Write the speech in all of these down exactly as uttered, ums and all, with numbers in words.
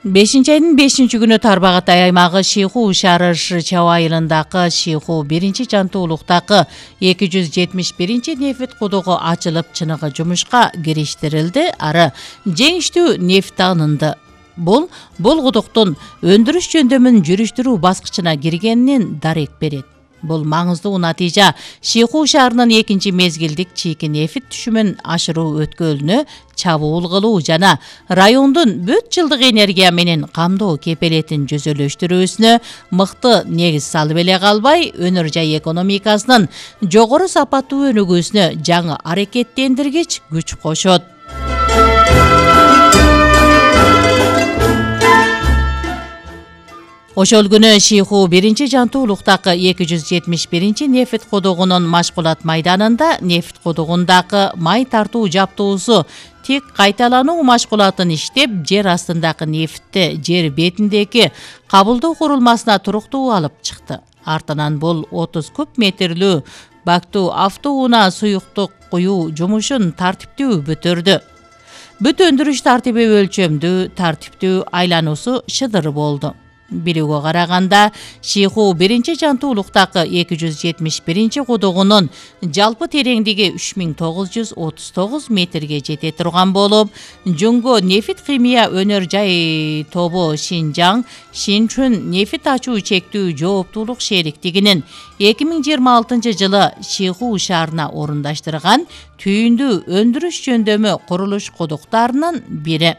бешинчи айдын бешинчи күнү Тарбағатай аймагы Шиху шаары Шычау айылындагы Шиху биринчи жантуулуктагы эки жүз жетимиш биринчи нефт кудугу ачылып, чыныгы жумушка кириштирилди. Ары жеңиштүү нефт алынды. Бул бул кудуктун өндүрүш жөндөмүн жүрүштүрүү баскычына киргенинен дарек берет. Бул маңыздуу натыйжа Шиху шаарынын экинчи мезгилдик чийки нефт түшүмүн ашыруу өткөлүнө чабуул кылуу жана райондун бүт жылдык энергия менен камдоо кепелетин жүзөлөштүрүүсүнө мыкты негиз салып эле калбай, өнөр жай экономикасынын жогору сапаттуу өнүгүүсүнө жаңы аракеттендиргич күч кошот. Ошол күнү Шиху биринчи жантуулуктагы эки жүз жетимиш биринчи нефт кудугунун машкулат майданында нефт кудугундагы май тартуу жаптоосу тик кайталануу машкулатын иштеп, жер астындагы нефтти жер бетиндеги кабылдоо курулмасына туруктуу алып чыкты. Артынан бул отуз куб метрлүү бактуу автоунаа суюктук куюу жумушун тартиптүү бүтүрдү. Бүт өндүрүш тартиби өлчөмдүү, тартиптүү, айлануусу шыдыр болду. Билүүгө караганда, Шиху биринчи жантуулуктагы эки жүз жетимиш биринчи кудугунун жалпы тереңдиги үч миң тогуз жүз отуз тогуз метрге жете турган болуп, Жөнгө нефт химия өнөр жай тобу Шинжаң, Шинчүн нефт ачуу чектүү жооптуулук шериктигинин эки миң жыйырма алтынчы жылы Шиху шаарына орундаштырган түйүндүү өндүрүш жөндөмү курулуш кудуктарынын бири.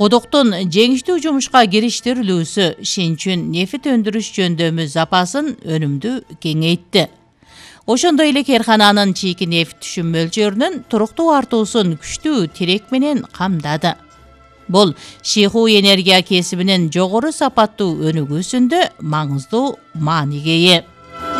Кудуктун жеңиштүү жумушка кириштирилүүсү Шинчүн нефт өндүрүш жөндөмү запасын өнүмдүү кеңейтти. Ошондой эле керкананын чийки нефт түшүм мөлчөрүнүн туруктуу артуусун күчтүү тирек менен камдады. Бул Шиху энергия кесибинин жогору сапаттуу өнүгүүсүндө маңыздуу мааниге ээ.